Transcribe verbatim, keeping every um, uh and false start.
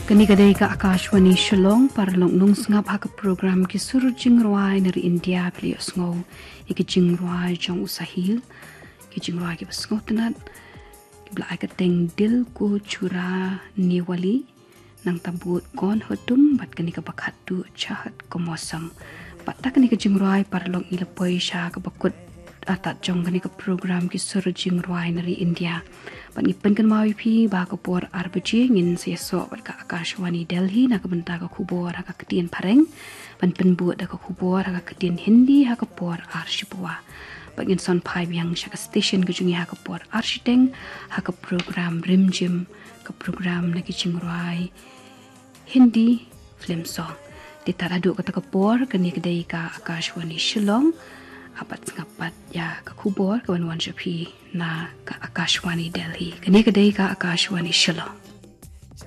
Kane ka dei ka Akashvani Shillong. Paralok nong sngap ha ka program Ki Sur Jingrwai na ri India. Phi la ïohsngew ïa ki jingrwai jong u Sahil, ki jingrwai kiba sngewtynnat, kiba la ai kyrteng Dil Ko Churane Wale, Nangta bud Kaun Ho Tum bad kane kaba khatduh Chahot Ka Mausam. Bad da kane ka jingrwai, paralok, ngi la poi sha kaba kut artat jong kane ka program Ki Sur Jingrwai na ri India. Bad ngi pynkynmaw ïa phi ba ha ka por ar baje ngin sa ïasoh bad ka Akashvani Delhi na ka bynta ka khubor ha ka ktien Phareng, ban pynbud da ka khubor ha ka ktien Hindi ha ka por ar shiphew. Bad ngin sa phai biang sha ka station ka jong ngi ha ka por ar shiteng ha ka program Rimjim, ka program na ki jingrwai Hindi film song. Te tad haduh kata ka por, kane ka dei ka Akashvani Shillong. Apat sngap pat ïa ka khubor ka wan wan sha phi na ka Akashvani Delhi. Kane ka dei ka Akashvani Shillong.